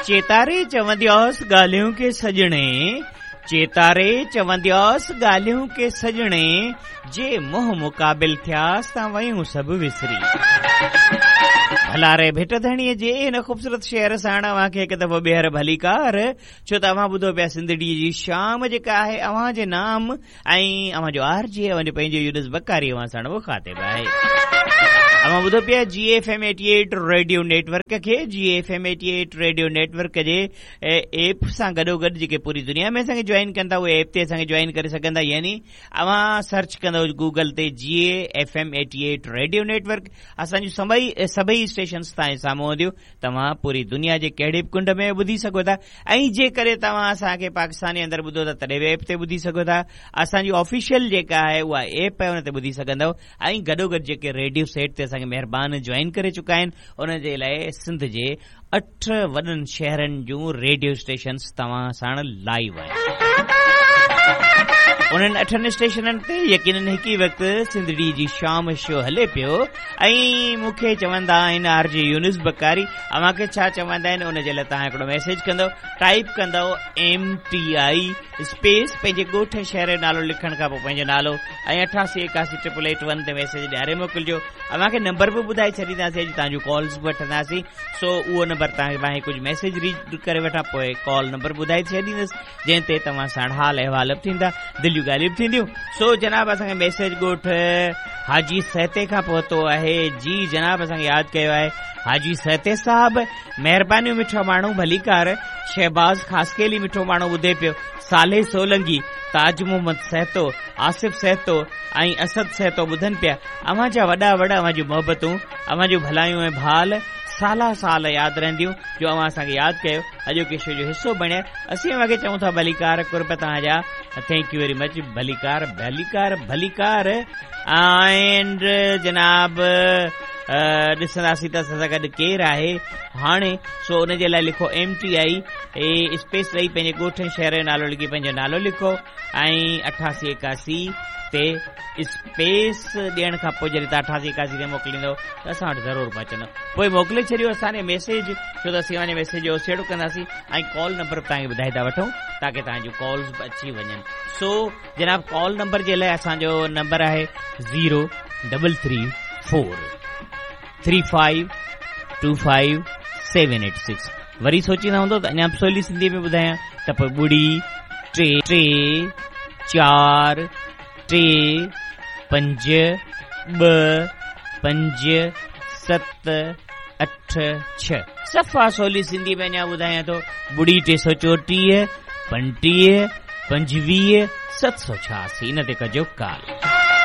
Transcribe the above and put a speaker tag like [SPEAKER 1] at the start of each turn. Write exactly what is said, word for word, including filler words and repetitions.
[SPEAKER 1] चेतारे चवंदियास ॻाल्हियूं के सॼणे, चेतारे चवंदियास ॻाल्हियूं के सॼणे, जे मुंहुं मुक़ाबिल थियास त वयूं सभु विसरी। भलारे भिट धणीअ जे हिन ख़ूबसूरत शहर साण अव्हांखे हिकु दफ़ो ॿीहर भलीकार, छो त अव्हां ॿुधो पिया सिंधड़ी जी शाम जेका आहे अव्हां जे नाम ऐं अव्हांजो आर जे अव्हांजो पंहिंजो यूनुस बकारी अव्हां साण मुखातिब आहे। अव्हां ॿुधो पिया G F M eighty eight radio network खे। G F M eighty eight radio network जे ऐप सां गॾोगॾु जेके पूरी दुनिया में असांखे जॉइन कंदा उहे ऐप ते असांखे जॉइन करे सघंदा, यानी अव्हां सर्च कंदव गूगल ते G F M eighty eight radio network, असांजूं सभई सभई स्टेशन्स तव्हांजे साम्हूं हूंदियूं, तव्हां पूरी दुनिया जे कहिड़े बि कुंड में ॿुधी सघो था। ऐं जेकॾहिं तव्हां असांखे पाकिस्तान जे अंदरि ॿुधो था तॾहिं बि ऐप ते ॿुधी सघो था, असांजी ऑफिशियल जेका आहे उहा ऐप आहे उन ते ॿुधी सघंदव। ऐं गॾोगॾु जेके रेडियो सेट ते असांखे महिरबान जॉइन करे चुका आहिनि उन जे लाइ सिंध जे अठ वॾनि शहरनि जूं रेडियो स्टेशन्स तव्हां साण लाइव आहिनि। उन्हनि अठनि स्टेशननि ते यकीनन हिकु ई वक़्तु सिंधड़ी जी शाम शो हले पियो। ऐं मूंखे चवंदा आहिनि आर जे यूनुस बकारी, अव्हांखे छा चवंदा आहिनि उन जे लाइ तव्हां हिकिड़ो मैसेज कंदव, टाइप कंदव एम टी I space पंहिंजे ॻोठ शहर जो नालो लिखण खां पोइ पंहिंजो नालो ऐं अठासी एकासी ट्रिपल एट वन ते मैसेज ॾियारे मोकिलिजो। अव्हांखे नंबर बि ॿुधाए छॾींदासीं, अॼु तव्हांजूं कॉल्स बि वठंदासीं। सो उहो नंबर तव्हांखे मां कुझु मैसेज रीड करे वठां, पोइ कॉल नंबर ॿुधाए छॾींदुसि जंहिं ते तव्हां साण हाल अहिवाल बि थींदा, दिलि जूं ॻाल्हियूं बि थींदियूं। सो जनाब असांखे मैसेज ॻोठ हाजी सहते खां पहुतो आहे। जी जनाब असांखे यादि कयो आहे हाजी सहते साहब, महिरबानियूं मिठो माण्हू भलीकार। शहबाज़ खासकेली मिठो माण्हू ॿुधे पियो, साले सोलंगी, ताज मोहम्मद सहतो, आसिफ सहतो ऐं असद सहतो ॿुधनि पिया। अव्हां जा वॾा वॾा अव्हां जूं मोहबतूं, अव्हां जूं भलायूं ऐं भाल साला साल यादि रहंदियूं जो अव्हां असांखे यादि कयो, अॼोके शो जो हिसो बणिया। असीं अव्हांखे चऊं था भलीकार, कुर्ब तव्हांजा, thank you very much, भलीकार भलीकार भलीकार। एंड जनाब ॾिसंदासीं त असां सां गॾु केरु आहे हाणे। सो उन जे लाइ लिखो एम टी I space ॾेई पंहिंजे ॻोठ ऐं शहर जो नालो लिखी पंहिंजो नालो लिखो ऐं अठासी एकासी ते स्पेस ॾियण खां पोइ जॾहिं तव्हां अठासी एकासी ते मोकिलींदव त असां वटि ज़रूरु पहुचंदो। पोइ मोकिले छॾियो असांजे मैसेज, छो त असीं अव्हांजे मैसेज जो ओसेड़ो कंदासीं ऐं कॉल नंबर बि तव्हांखे ॿुधाए था वठूं ताकी तव्हांजूं कॉल्स बि अची वञनि। सो जनाब कॉल नंबर जे लाइ असांजो नंबर आहे zero double three four three five two five seven eight six. वरी सोचींदा हूंदो त अञा बि सवली सिंधीअ में ॿुधायां त पोइ ॿुड़ी टे टे चारि टे पंज ॿ पंज सत अठ छह। सफ़ा सवली सिंधी में अञा ॿुधायां थो, ॿुड़ी टे सौ चोटीह पंटीह पंजवीह सत सौ छयासी, इन ते कजो कॉल।